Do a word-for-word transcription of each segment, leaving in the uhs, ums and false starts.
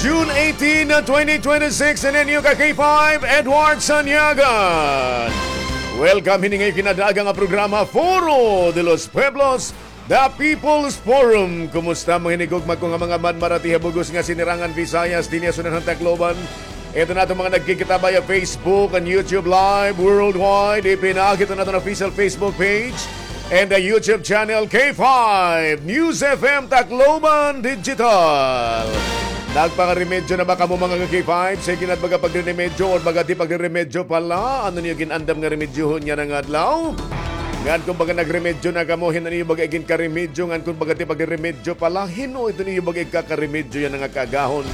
June eighteen, twenty twenty-six, and then you ka K five, Edward Sanyagan. Welcome hini nga ikinadaaga nga programa, Foro de los Pueblos, The People's Forum. Kumusta, mga hinigugma ko nga mga manmaratiha bug-os nga sinirangan Visayas, dinhi ha Sudlan han Tacloban? Ito na itong mga nagkikita via Facebook and YouTube Live worldwide. Ipinakita natin ang official Facebook page and the YouTube channel K five News F M Tacloban Digital. Nagpangaremedyo na ba kamo, mga ka-K five? Sige na, baga pagriremedyo or baga di pagriremedyo pala. Ano niyo ginandam nga remedyohon yana nga adlaw? Ngan kung baga nagremedyo na kamo, hin-o niyo baga iginkaremedyo? Ngan kung baga di pagriremedyo pala, hin-o ito niyo baga igkakaremedyo yana nga kaagahon?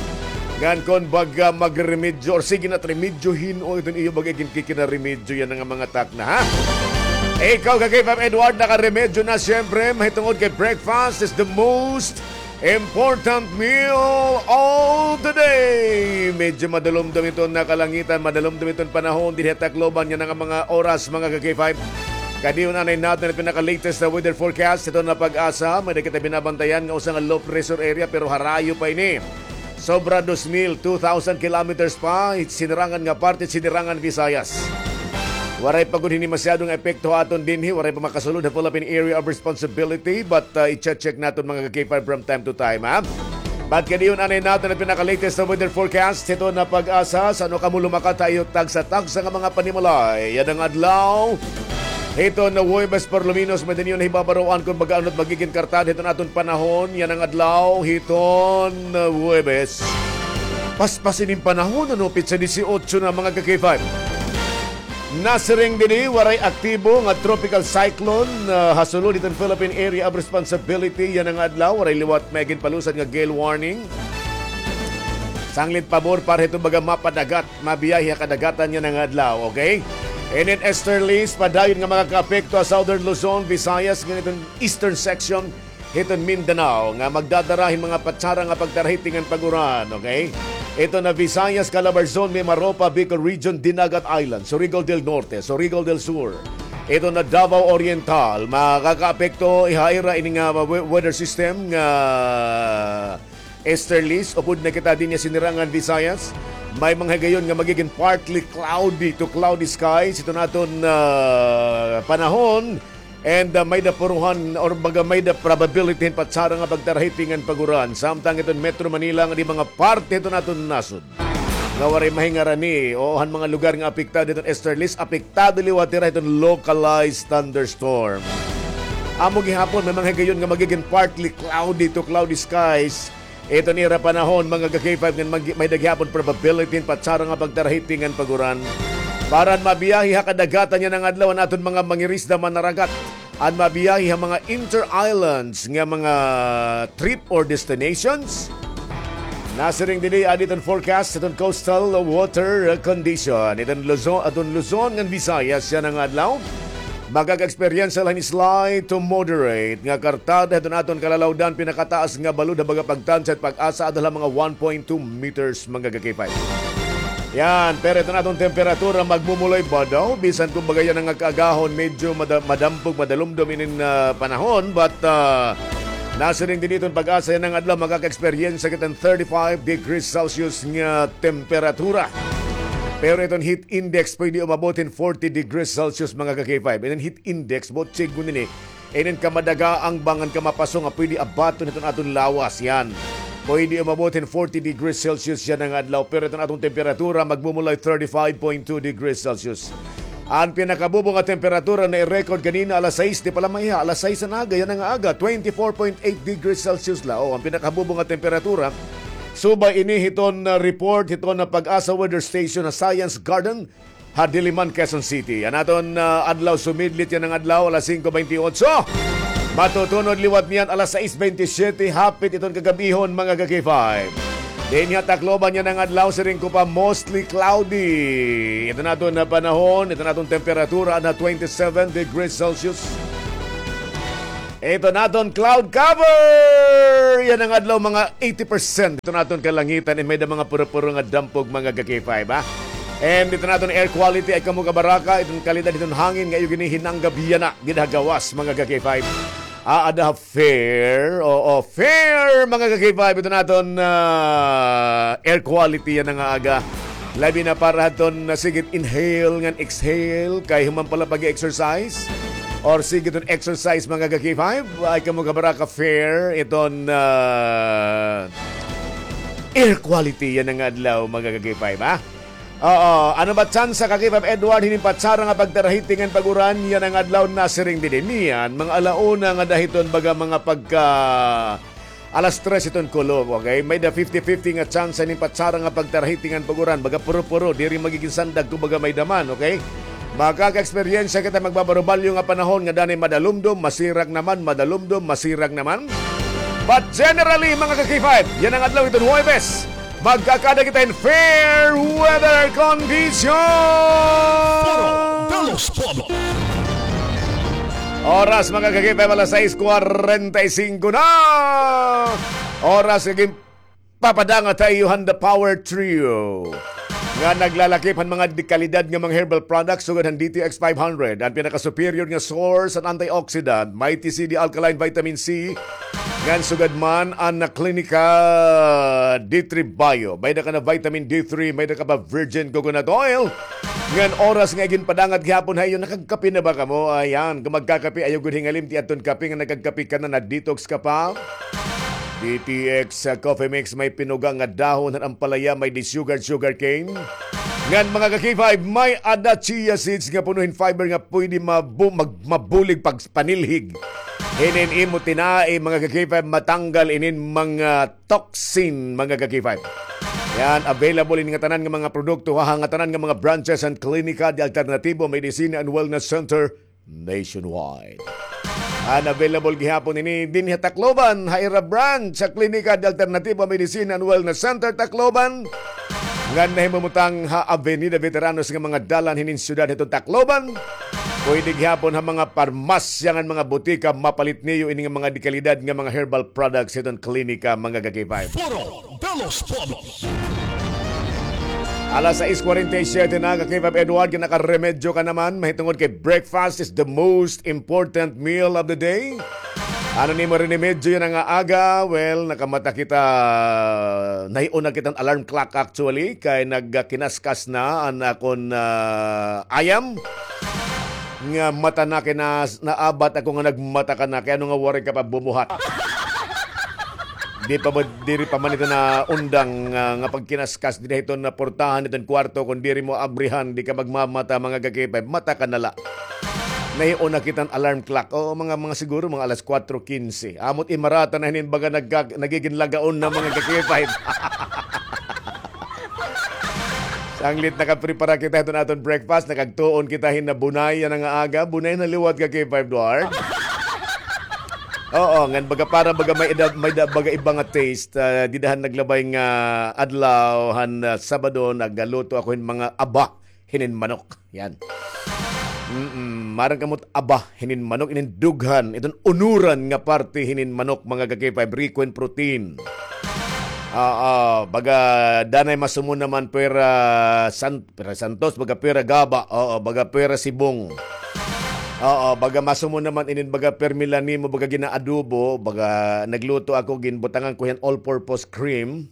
Ngan kung baga magremedyo or sige na remedyo, hin-o ito niyo baga iginkikinaremedyo yana nga mga takna, ha? Ikaw, ka-K five Edward, nakaremedyo na, siyempre, mahitungod kay breakfast is the most important meal of the day. Medyo madalumdom iton nga kalangitan, madalumdom iton panahon dinhi ha Tacloban yana nga mga oras, mga ka-K five. Kadi-on anay naton an pinaka-latest na weather forecast. Ito na PAGASA, may-ada kita binabantayan nga usa nga low pressure area, pero harayo pa ini. Sobra dos mil, two thousand kilometers pa, sinirangan nga parte, sinirangan Visayas. Waray pa gud hini masyado nga epekto ha aton dinhi, waray pa makasulod ha Philippine Area of Responsibility, but, uh, i-check-check naton, mga ka-K five, from time to time, ha? But kadi-on anay naton an pinaka-latest na weather forecast hiton na PAGASA. San-o kamo lumakat ha iyo tagsa-tagsa nga mga panimalay yana nga adlaw? Hiton na Huwebes, por lo menos, may-ada niyo nahibabaroan kon baga ano it magigin kartad hiton aton panahon yana nga adlaw, hiton na Huwebes. Paspas ini nga panahon, ano, petsa disiotso na, mga ka-K five. Nasiring dinhi, waray aktibo nga tropical cyclone, ah, ha sulod hiton Philippine Area of Responsibility yana nga adlaw. Waray liwat may ginpalusad nga gale warning. Sanglit pabor para hiton baga mapadagat, mabiyahe ha kadagatan yana nga adlaw, okay? And then easterlies, padayon nga makakaapekto ha Southern Luzon, Visayas, ngan iton eastern section hiton Mindanao nga magdadara hin mga patsara nga pagtarahiti ngan pag-uran, okay? Ito na Visayas, Calabarzon, Mimaropa, Bicol Region, Dinagat Island, Surigao del Norte, Surigao del Sur. Ito na Davao Oriental, makakaapekto ha ira ini nga we-, weather system nga easterlies. Upod na kita dinhi ha sinirangan Visayas. May mga higayon nga magigin partly cloudy to cloudy skies. Ito na aton, ah, panahon. And, ah, may-ada puruhan or baga may-ada probability hin patsara nga pagtarahiti ngan pag-uran. Samtang iton Metro Manila ngan mga parte hiton aton nasod nga waray mahingarani o han mga lugar nga apektado hiton easterlies, apektado liwat hira hiton localized thunderstorm. Amo gihapon, may mga higayon nga magigin partly cloudy to cloudy skies iton ira panahon, mga ka-K five, ngan mag-, may-ada gihapon probability hin patsara nga pagtarahiti ngan pag-uran. Para an mabiyahe ha kadagatan yana nga adlaw an aton mga mangirisda, manaragat, an mabiyahe ha mga inter-islands nga mga trip or destinations. Nasiring dinhi, adi iton forecast hiton coastal water condition hiton Luzon, aton Luzon ngan Visayas yana nga adlaw. Makaka-eksperyensya la hin slight to moderate nga kartad hiton aton kalalawdan, pinakataas nga balod ha baga pagtansya it PAGASA adto la ha mga one point two meters, mga ka-K five. Yan, pero iton aton temperatura magmumulay ba daw? Bisan kumbaga yana nga kaagahon, medyo mada-, madampog, madalumdom inin, ah, panahon, but, ah, nasiring dinhi iton PAGASA yana nga adlaw, makaka-eksperyensya kita hin thirty-five degrees Celsius nga temperatura. Pero iton heat index pwede umabot hin forty degrees Celsius, mga ka-K five. Iton heat index, buot siring ini, inin kamadagaang ba ngan kamapaso nga pwede abaton hiton aton lawas, yan. Pwede umabot hin forty degrees Celsius yana nga adlaw, pero iton aton temperatura magmumulay thirty-five point two degrees Celsius. An pinakabubo nga temperatura na-record kanina alas sais, di pala maiha, alas sais an aga yana nga aga, twenty-four point eight degrees Celsius la. O, an pinakabubo nga temperatura, subay ini hiton, ah, report hiton na PAGASA Weather Station ha Science Garden ha Diliman, Quezon City. An aton, ah, adlaw sumidlit yana nga adlaw, alas singko bente otso. Matutunod liwat niyan alas sais bente siyete, hapit iton kagab-ihon, mga ka-K five. Dinhi ha Tacloban yana nga adlaw, siring ko pa, mostly cloudy. Iton aton panahon, iton aton temperatura na twenty-seven degrees Celsius. Iton aton cloud cover yana nga adlaw, mga eighty percent iton aton kalangitan, and may-ada mga puro-puro nga dampog, mga ka-K five, ha? And iton aton air quality, ayaw kamo kabaraka, iton kalidad hiton hangin nga iyo ginihinanggab yana gid ha gawas, mga ka-K five. Aada ha fair, oo, fair, mga ka-K five, iton aton, ah, air quality yana nga aga. Labi na para hadton, ah, sige it inhale ngan exhale kay human pa la pag-exercise or sige iton exercise, mga ka-K five, ay kamo kabara ka-fair iton, ah, air quality yana nga adlaw, mga ka-K five, ha? Oo, ano ba tsansa, ka-K five Edward, hinin patsara nga pagtarahiti ngan pag-uran yana nga adlaw? Nasiring didi niyan mga ala una ngada hiton, baga mga pagka alas tres hiton kulop, okay? May-ada fifty fifty nga tsansa hinin patsara nga pagtarahiti ngan pag-uran, baga puro-puro, diri magigin sandag kon baga may-ada man, okay? Makaka-eksperyensya kita magbabarubalyo nga panahon nga danay madalumdom, masirak naman, madalumdom, masirak naman. But generally, mga ka-K five, yana nga adlaw hiton Huwebes, magkakaada kita hin fair weather condition. Puro de los Pueblos. Oras, mga ka-K five, alas sais kwarenta y singko na. Oras nga ginpapadangat ha iyo han The Power Trio nga naglalakip han mga dekalidad nga mga herbal products sugad han D T X five hundred, an pinaka-superior nga source han antioxidant, Mighty C D Alkaline Vitamin C, ngan sugad man an Clinica D three Bio. May-ada ka na vitamin D three, may-ada ka pa virgin coconut oil. Ngan oras nga iginpadangat gihapon ha iyo, nakagkape na ba kamo? Ayan, kon magkakape, ayaw gud hingalimti adton kape nga nakagkape ka na, na-detox ka pa. D T X, ah, Coffee Mix, may pinuga nga dahon han ampalaya, may di sugar, sugar cane. Ngan, mga ka-K five, may-ada chia seeds nga puno hin fiber nga pwede mabu-, mag-, mabulig pagpanilhig hinin imo tinai, mga ka-K five, matanggal inin mga toxin, mga ka-K five. Yan, available ini nga tanan nga mga produkto ha ngatanan nga mga branches han Klinika de Alternativo Medicina and Wellness Center nationwide. An available gihapon ini dinhi ha Tacloban, ha ira branch ha Klinika de Alternativo Medicina and Wellness Center, Tacloban, nga nahimumutang ha Avenida Veteranos nga mga dalan hinin syudad hiton Tacloban. Pwede gihapon ha mga parmasya ngan mga butika mapalit niyo ini nga mga dekalidad nga mga herbal products hiton klinika, mga ka-K five. Foro de los Pueblos. Alas sais kwarenta y siyete na, ka-K five Edward, nakaremedyo ka naman, mahitungod kay breakfast is the most important meal of the day. Ano an imo rinemedyo yana nga aga? Well, nakamata kita, nahiuna kita han alarm clock actually, kay nagkinaskas na an akon, ah, ayam. Nga mata na kay nas-, naabat ako nga nagmata ka na, kay ano nga waray ka pa bumuhat? Di pa ba, diri pa man ito na undang, ah, nga pagkinaskas diri hiton na portahan hiton kwarto, kon diri mo abrihan, di ka magmamata, mga ka-K five, mata ka na la. Nahiuna kita han alarm clock. Oo, mga, mga siguro, mga alas kwatro kinse. Amo it imarata na hinin baga nagka-, nagigin lagaon na, mga ka-K five. Sanglit nakaprepara kita hiton aton breakfast, nakagtuon kita hin na bunay yana nga aga, bunay na liwat, ka-K five Edward. Oo, ngan baga para baga may ida-, may da-, baga iba nga taste, ah, dida han naglabay nga adlaw han, ah, Sabado, nagluto ako hin mga aba hinin manok. Yan. Mm, maaram kamo it aba hinin manok, inin dughan, iton unuran nga parte hinin manok, mga ka-K five, riko hin protein. Ah, ah, baga danay masumo naman pwera san-, pwera santos, baga pwera gaba, oo, baga pwera sibong. Oo, baga masumo naman inin baga permi la nimo, baga ginaadobo, baga nagluto ako, ginbutangan ko hiyan all-purpose cream.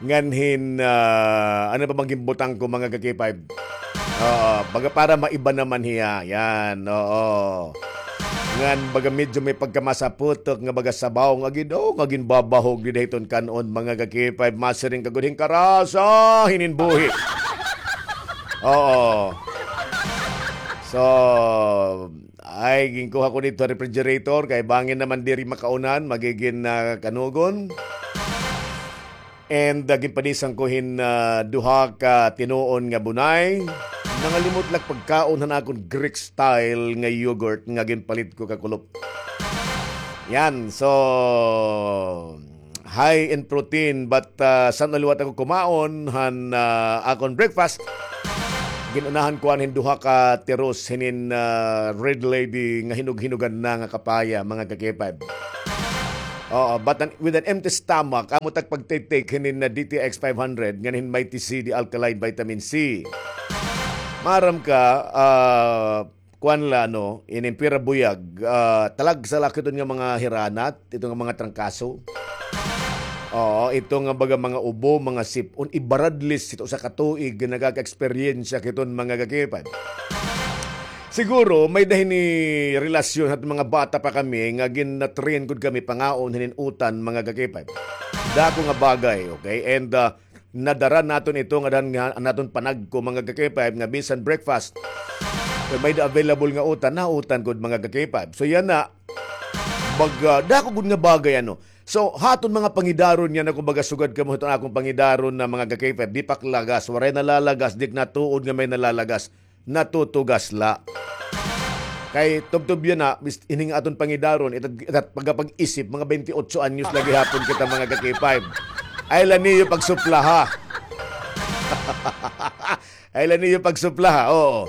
Ngan hin, ah, ano pa bang ginbutang ko, mga ka-K five? Oo, baga para maiba naman hiya. Yan, oo. Ngan baga medyo may pagkamasaputok nga baga sabaw nga gin-, oh, nga ginbabahog dida hiton kan-on, mga ka-K five. Masiring ka gud hin karasa hinin buhi. Oo. So, ay, ginkuha ko didto refrigerator kay bangin naman diri makaunan, magigin, ah, kanugon. And, ah, ginpanisan ko hin, ah, duha ka tinuon nga bunay. Nangalimot la ak pagkaon han akon Greek style nga yogurt nga ginpalit ko kakulop. Yan, so, high in protein, but, ah, san-o liwat ako kumaon han, ah, akon breakfast. Gin-unahan ko an hin duha ka tiros hinin, ah, Red Lady nga hinog-hinogan na nga kapaya, mga ka-K five. Oo, but an, with an empty stomach, amo it ak pagtitake hinin na D T X five hundred, ngan hin Mighty C D Alkaline Vitamin C. Maaram ka, ah, kuan la, no, inin pira buyag, ah, talagsa la ak hiton nga mga hiranat, hiton nga mga trangkaso. Oo, ito nga baga mga ubo, mga sip-on, ibaradlis ito sa katuig nga nakaka-eksperyensya kiton mga ka-K five. Siguro, may dahin ni relasyon hat mga bata pa kami nga gin-train gud kami pangaon hinin utan mga ka-K five. Dako nga bagay, okay? And, ah, nadara naton ito nga dahan nga naton panagko mga ka-K five nga bisan breakfast, may da available nga utan, nautan gud mga ka-K five. So, yana, baga, dako gud nga bagay, ano. So, haton mga pangidaron yana, kumbaga, sugad kamo hiton akon pangidaron na mga ka-K five, di paklagas, waray nalalagas, di natuod nga may nalalagas, natutugas la. Kay tubtob yana, bis-, ining aton pangidaron, itat, itat pagkapag-isip, mga twenty-eight anyos lagi hapon kita mga ka-K five. Ay la niyo pagsuplaha. Ay la niyo pagsuplaha, oo.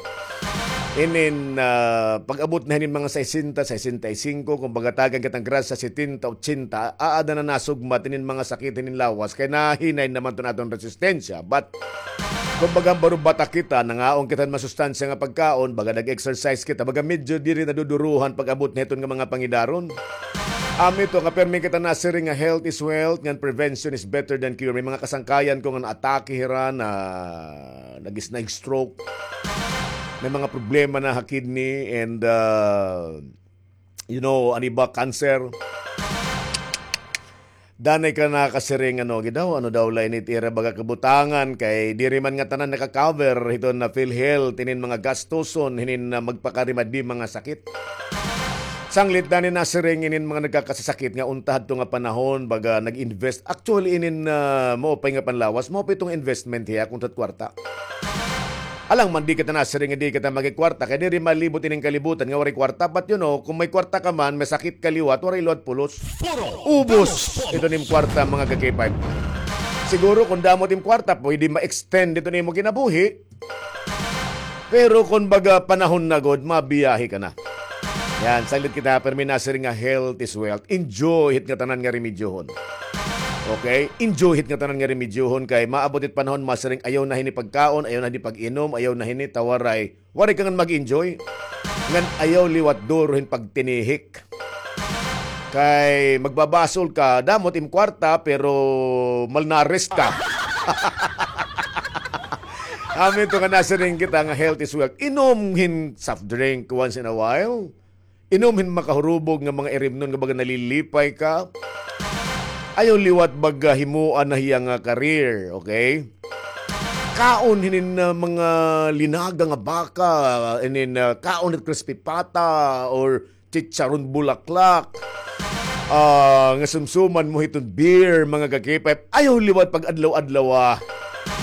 Inin, ah, pag-abot na hinin mga sesenta, sesenta y cinco, kung pagatagan kitang grasya, setenta, ochenta, aada na nasugmat inin mga sakit hinin lawas, kay nahinay naman ton aton resistensya. But, kumbaga, baro bata kita, nangaon kita hin masustansya nga pagkaon, baga nag-exercise kita, baga medyo diri naduduruhan pag-abot na hiton nga mga pangidaron. Amo ito nga permi kita nasiring nga health is wealth, ngan prevention is better than cure. May mga kasangkayan ko nga naatake hira, na nag-, nag-stroke. May mga problema na ha kidney and, uh, you know, ano ba, cancer. Danay ka nakasiring, ano, gidaw, ano daw la ini it ira baga kabutangan, kay diri man ngatanan naka-cover hiton na PhilHealth, inin mga gastuson, hinin na magpakarimadi mga sakit. Sanglit danay nasiring inin mga nagkakasasakit nga unta hadto nga panahon, baga nag-invest. Actually, inin, ah, maupay nga panlawas, maupay iton investment hiya kun hit kwarta. Alang man di kita nasiring nga di kita magkwarta, kay diri malibot ining kalibutan nga waray kwarta. But you know, kung may kwarta ka man, may sakit ka liwat, waray liwat pulos. Ubos ito nim kwarta, mga ka-K five. Siguro kung damo it im kwarta, pwede ma-extend ito nimo kinabuhi. Pero kung baga panahon na gud, mabiyahe ka na. Yan, sanglit kita, permi nasiring nga health is wealth. Enjoy hit ngatanan nga remedyohon. Okay? Enjoy hit ngatanan nga remedyohon kay maabot it panahon, masiring, ayaw na hini pagkaon, ayaw na hini pag-inom, ayaw na hini, ta waray. Waray ka ngan mag-enjoy. Ngan ayaw liwat duro hin pagtinihik. Kay magbabasol ka, damo it im kwarta, pero malnourished ka. Amo ito nga nasiring kita nga health is wealth. Inom hin soft drink once in a while. Inom hin makahurubog nga mga irimnon nga baga nalilipay ka. Ayaw liwat baga himuan na hiya nga career, okay? Kaon hinin, ah, mga linaga nga baka, hinin, ah, kaon hit crispy pata or chicharon bulaklak. Ah, nga sumsuman mo hiton beer, mga ka-K five. Ayaw liwat pag-adlaw-adlaw, ah.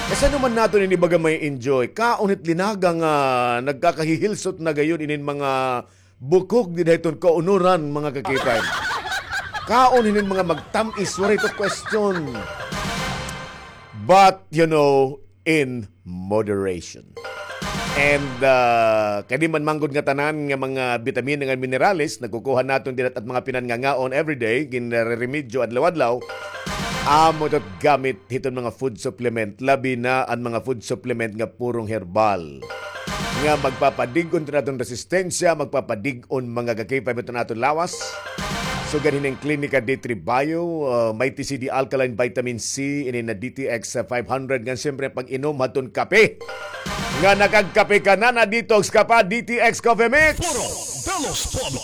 Kay san-o man naton ini baga ma-enjoy? Kaon hit linaga nga nagkakahihilsot na gayod inin mga bukog dida hiton kaunuran, mga ka-K five. Kaon hinin mga magtam-is, waray ito question. But, you know, in moderation. And, ah, kay di man man gud ngatanan nga mga bitamina ngan minerales, nakukuha naton dida hit mga pinangangaon everyday, ginreremedyo adlaw-adlaw, amo ito it gamit hiton mga food supplement, labi na an mga food supplement nga purong herbal. Nga magpapadig-on hiton aton resistensya, magpapadig-on mga ka-K five hiton aton lawas. Sugad hinin Klinika D three Bio, ah, Mighty C D Alkaline Vitamin C, inin na D T X five hundred, ngan siyempre pag-inom hadton kape. Nga nakagkape ka na, na-detox ka pa, D T X Coffee Mix. Puro Velos Pomi.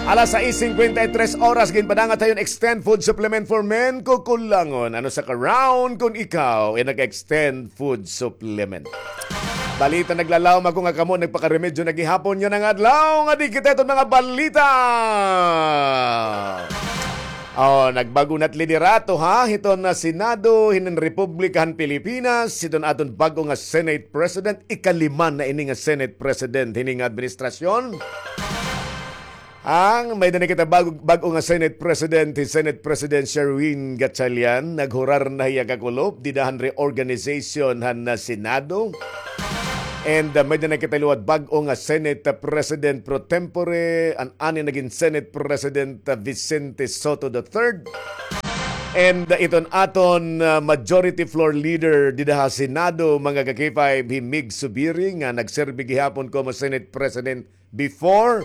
Alas sais singkwenta y tres oras, ginpadangat ha iyo an Extend Food Supplement for Men, kukulangon. Ano sa ka-round kun ikaw ay nag-extend food supplement? Balita, naglalawom ako nga kamo nagpakaremedyo na gihapon yana nga adlaw nga di kita iton mga balita. Oh, nagbag-o na it liderato, ha, hiton na Senado hinin Republika han Pilipinas, hiton aton bag-o nga Senate President, ikalima na ini nga Senate President hini nga administrasyon. Ang may-ada na kita bag-o, bag-o nga Senate President, hi Senate President Sherwin Gatchalian, naghurar na hiya kakulop dida han reorganization han, ah, Senado. And, ah, may-ada na kita liwat bag-o nga Senate, ah, President pro tempore, an ani nagin Senate President, ah, Vicente Sotto the third. And, ah, iton aton, ah, majority floor leader dida ha Senado, mga ka-K five, hi Mig Zubiri, nga nagserbi gihapon komo Senate President before,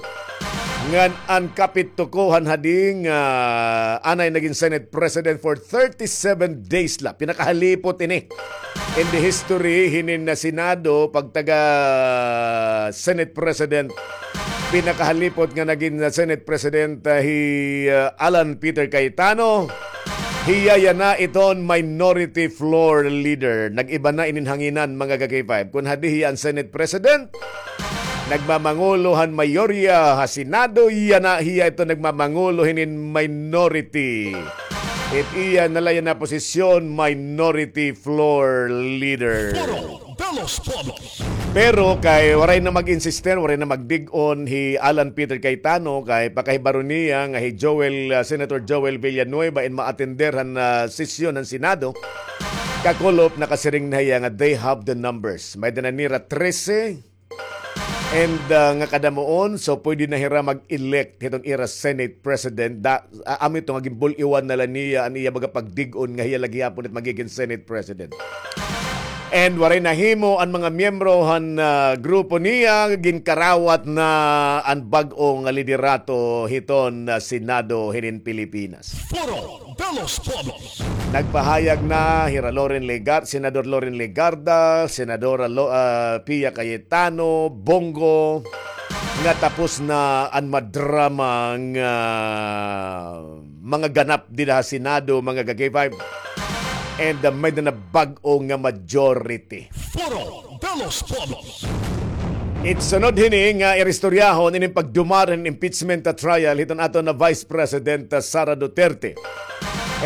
Ngan an kapitukohan hadi nga anay nagin Senate President for thirty-seven days la. Pinakahalipot ini in the history hinin na Senado, pagtaga Senate President. Pinakahalipot nga nagin Senate President, ah, hi, ah, Alan Peter Cayetano. Hiya yana iton minority floor leader. Nag-iba na inin hanginan, mga ka-K five. Kun hadi hiya an Senate President, nagmamangulo han mayorya ha Senado, yana hiya ito nagmamangulo hinin minority. It iya na la yana posisyon, minority floor leader. Foro de los Pueblos. Pero kay waray na mag-insister, waray na magdig-on hi Alan Peter Cayetano, kay pakahibaro niya nga hi Joel, ah, Senator Joel Villanueva in ma-attender han, ah, sesyon han Senado. Kakulop, nakasiring na hiya nga they have the numbers. May-ada na nira trese. And, ah, nga kadamuon, so pwede na hira mag-elect hiton ira Senate President. Da, ah, amo ito nga ginbul-iwan na la niya an iya baga pagdig-on nga hiya la gihapon it magigin Senate President. And waray nahimo an mga miyembro han, ah, grupo niya, ginkarawat na an bag-o nga liderato hiton, ah, Senado hinin Pilipinas. Foro de los Pueblos. Nagpahayag na hira Loren Legar-, Senador Loren Legarda, Senadora Lo-, ah, Pia Cayetano, Bong Go, nga tapos na an madrama nga mga ganap dida ha Senado, mga ka-K five. And, uh, may-ada na bag-o nga majority. Foro de los Pueblos. It sunod hini nga iristoryahon inin pagdumara hin impeachment, uh, trial hiton aton na Vice President, uh, Sara Duterte.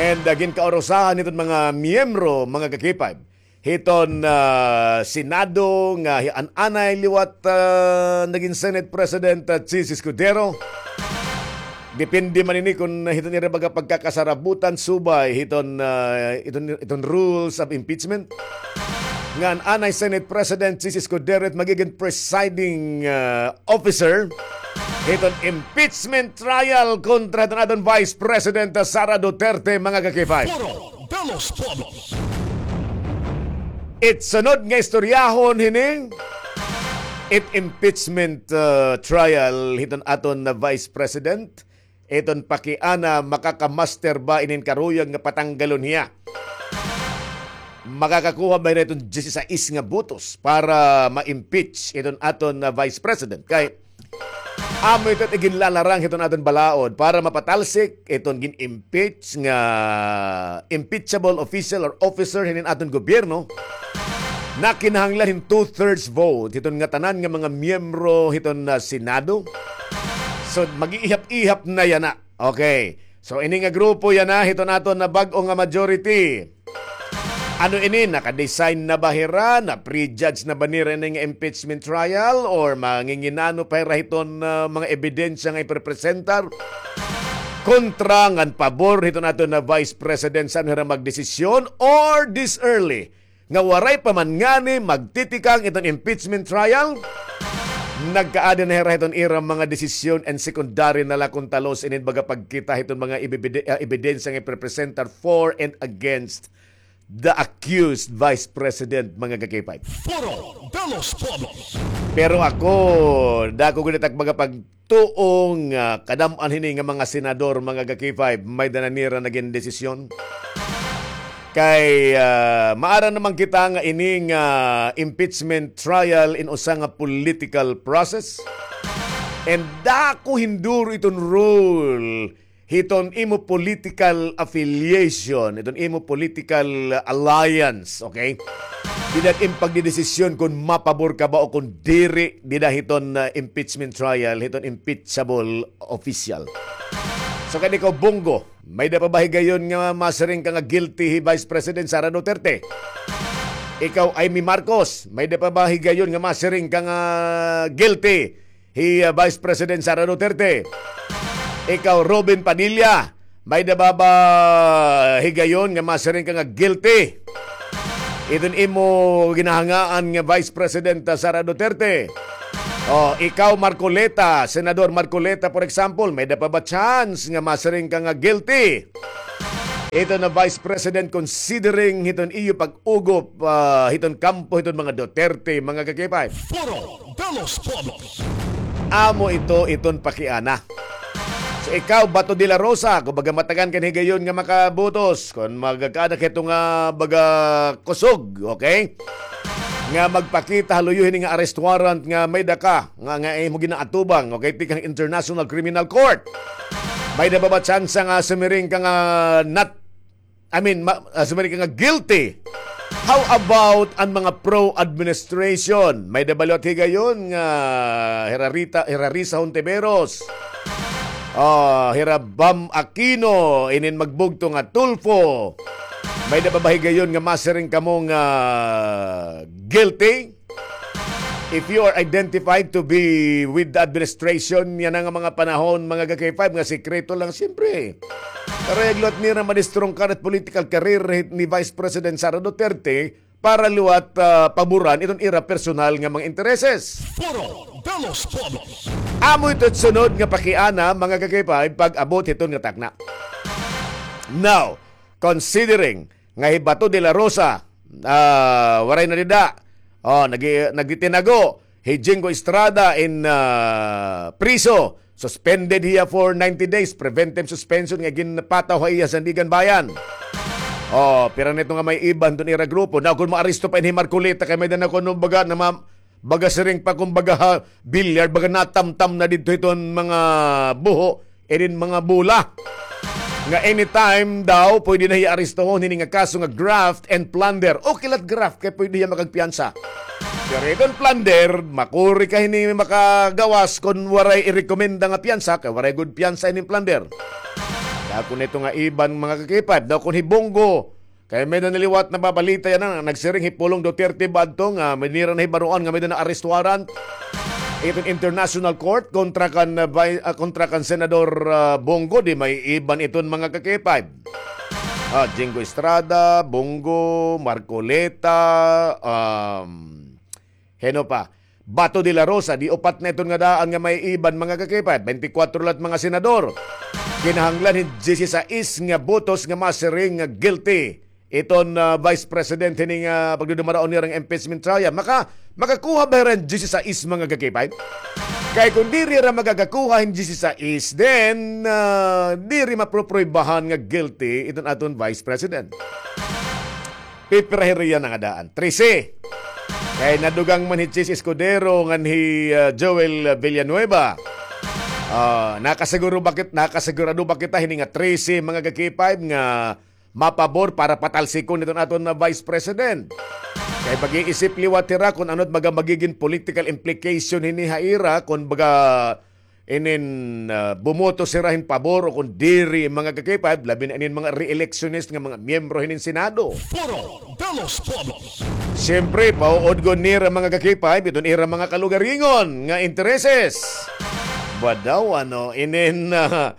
And, uh, ginkaurusahan hiton mga miyembro, mga ka-K five, hiton, ah, Senado nga hi-, an anay liwat, ah, nagin Senate President, ah, Chiz Escudero. Depende man ini kun hiton ira baga pagkakasarabutan subay hiton, ah, iton, iton rules of impeachment. Nga an anay Senate President Chiz Escudero it magigin presiding, ah, officer hiton impeachment trial kontra hiton aton Vice President, ah, Sara Duterte, mga ka-K five. Foro de los Pueblos. It sunod nga istoryahon hini, it impeachment, uh, trial hiton aton na Vice President, iton pakiana makakamaster ba inin karuyag nga patanggalon hiya. Makakakuha ba hira hiton diyesisais nga botos para ma-impeach iton aton na Vice President? Kay amo ito it iginlalarang hiton aton balaod para mapatalsik iton gin-impeach nga impeachable official or officer hinin aton gobyerno. Nakinahanglan hin two-thirds vote hiton ngatanan nga mga miyembro hiton, ah, Senado. So, mag-iihap-ihap na yana. Okay. So, ini nga grupo yana hiton aton na bag-o nga majority. Ano ini, naka-design na ba hira? Na-prejudge na ba nira ini nga impeachment trial? Or manginginano pa hira hiton, ah, mga ebidensya nga iprepresentar kontra ngan pabor hiton aton na Vice President? San hira magdesisyon? Or this early, nga waray pa man ngani magtitikang iton impeachment trial, nagkaada na hira hiton ira mga desisyon and secondary na la kon talos inin baga pagkita hiton mga ibibide-, ah, ebidensya nga iprepresentar for and against the accused Vice President, mga ka-K five. Foro de los Pueblos. Pero ako, dako gud it ak mga pagtuo nga kadam-an hini nga mga senador, mga ka-K five, may-ada na nira nagin desisyon. Kay, ah, maaram naman kita nga ini nga impeachment trial in usa nga political process. And dako hin duro iton role hiton imo political affiliation, hiton imo political alliance, okay? Dida it im pagdedesisyon kon mapabor ka ba o kon diri dida hiton, ah, impeachment trial, hiton impeachable official. So, kay ikaw, Bong Go, may-ada pa ba higayon nga masiring ka nga guilty hi Vice President Sara Duterte? Ikaw, Imee Marcos, may-ada pa ba higayon nga masiring ka nga guilty hi, ah, Vice President Sara Duterte? Ikaw, Robin Padilla, may-ada pa ba higayon nga masiring ka nga guilty hiton imo ginahangaan nga Vice President, ah, Sara Duterte? O, ikaw, Marcoleta, Senador Marcoleta, for example, may-ada pa ba chance nga masiring ka nga guilty hiton na Vice President, considering hiton iyo pag-ugop, ah, hiton kampo hiton mga Duterte, mga ka-K five? Foro de los Pueblos. Amo ito iton pakiana. So ikaw, Bato de la Rosa, kumbaga matagan ka hin higayon nga makabutos. Kon magkada ka hito nga baga kusog, okay? Nga magpakita ha luyo hini nga arrest warrant nga may-ada ka, nga, nga imo ginaatubang, okay? Tikang International Criminal Court. May-ada pa ba tsansa nga sumiring ka nga not I mean, ma-, ah, sumiring ka nga guilty. How about an mga pro-administration? May-ada ba liwat higayon nga hira Rita, hira Risa Hontiveros? Ah, hira Bam Aquino, inin magbugto nga Tulfo. May-ada ba higayon nga masiring kamo nga guilty? If you are identified to be with the administration, yana nga mga panahon, mga ka-K five, nga sikreto lang, siyempre. Karuyag liwat nira madistrungkar it political career ni Vice President Sara Duterte para liwat, ah, paboran iton ira personal nga mga intereses. Foro de los Pueblos. Amo ito sunod nga pakiana, mga ka-K five, pag-abot hiton nga takna. Now, considering nga hi Bato de la Rosa, ah, waray na dida. Oh, nagi-, nagitinago. Hi Jinggo Estrada in, ah, priso. Suspended hiya for ninety days. Preventive suspension nga ginpataw ha iya sa Sandiganbayan. Oh, pira na ito nga may iban iton ira grupo. Na kon maaresto pa ini hi Marcoleta kay may-ada na kuno baga na ma-, baga siring pa kumbaga ha, bilyar, baga natamtam na didto hiton mga buho, inin mga bola. Nga anytime daw, pwede na hiya arestohon hini nga kaso nga graft and plunder. Okay la it graft, kay pwede hiya makagpiyansa. Pero iton plunder, makuri ka hini makagawas kon waray irekomenda nga piyansa, kay waray gud piyansa hini plunder. Dako na ito nga iban, mga ka-K five, daw kon hi Bong Go, kay may-ada na liwat nababalita yana, nagsiring hi Pulong Duterte ba adto nga may-ada na hibaroan nga may-ada na arrest warrant iton International Court kontra kan, ah, vi-, ah, kontra kan Senador, ah, Bong Go, di may iban iton mga ka-K five. Ah, Jinggo Estrada, Bong Go, Marcoleta, um, hin-o pa? Bato de la Rosa, di upat na iton nga daan nga may iban, mga ka-K five, twenty-four la it mga senador. Kinahanglan hin diyesisais nga botos nga masiring nga guilty iton, ah, Vice President hini nga pagdudumaraon nira nga impeachment trial. Maka-, makakuha ba hira hin diyesisais, mga ka-K five? Kay kon diri hira makakakuha hin diyesisais, then, ah, diri maproproybahan nga guilty iton aton Vice President. Pipira hira yana nga daan? Trese. Kay nadugang man hi Chiz Escudero ngan hi, ah, Joel Villanueva. Ah, nakasiguro ba kit-, nakasigurado ba kita hini nga trese, mga ka-K five, nga mapabor para patalsikon iton aton na Vice President? Kay mag-iisip liwat hira kon ano it mga magigin political implication hini ha ira kon baga inin, ah, bumoto sira hin pabor o kon diri, mga ka-K five, labi na inin mga re-electionist nga mga miyembro hinin Senado. Foro de los Pueblos. Siyempre, pauudgon nira, mga ka-K five, iton ira mga kalugaringon nga intereses. Ba daw, ano, inin, ah,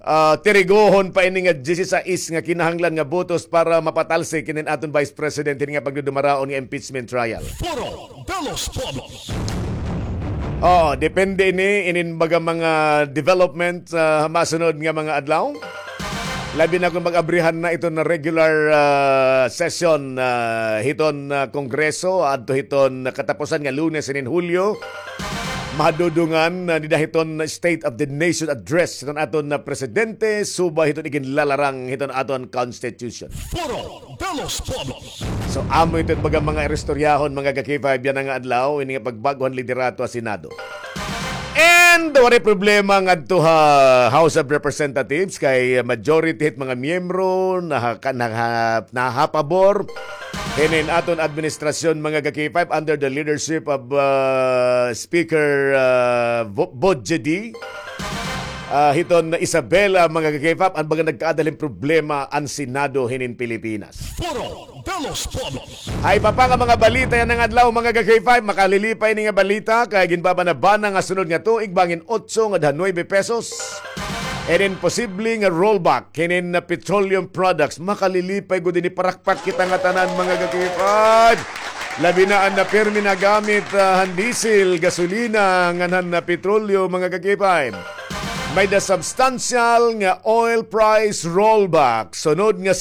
ah, tirigohon pa ini nga diyesisais nga kinahanglan nga botos para mapatalsik inin aton Vice President hini nga pagdudumaraon nga impeachment trial. Foro de los Pueblos. Oh, depende ini inin baga mga development sa masunod nga mga adlaw. Labi na kon mag-abrihan na iton regular, ah, session, ah, hiton, ah, Kongreso, adto hiton katapusan nga Lunes hinin Hulyo. Madudungan na dida hiton State of the Nation Address hiton aton na presidente, subay hiton iginlalarang hiton aton Constitution. Foro de los Pueblos. So, amo ito baga mga istoryahon, mga ka-K five, yana nga adlaw, ini nga pagbag-o han liderato ha Senado. And waray problema ngadto ha House of Representatives kay majority hit mga miyembro naha-, naha-, nahapabor hinin aton administrasyon, mga ka-K five, under the leadership of, uh, Speaker, uh, Bo-, Bojedi. Ah, hiton Isabela, mga ka-K five, an baga nagkaada hin problema an Senado hinin Pilipinas. Foro de los Pueblos. Hay iba pa nga mga balita yana nga adlaw, mga ka-K five, makalilipay ini nga balita kay ginbabanabana nga sunod nga tuig bangin otso ngadto ha nuebe pesos. Inin posible nga rollback hinin na petroleum products, makalilipay gud ini, parakpak kita ngatanan, mga ka-K five. Labi na an na pirmi nagamit, ah, han diesel, gasolina, ngan han na petrolyo, mga ka-K five. May-ada substantial nga oil price rollback sunod nga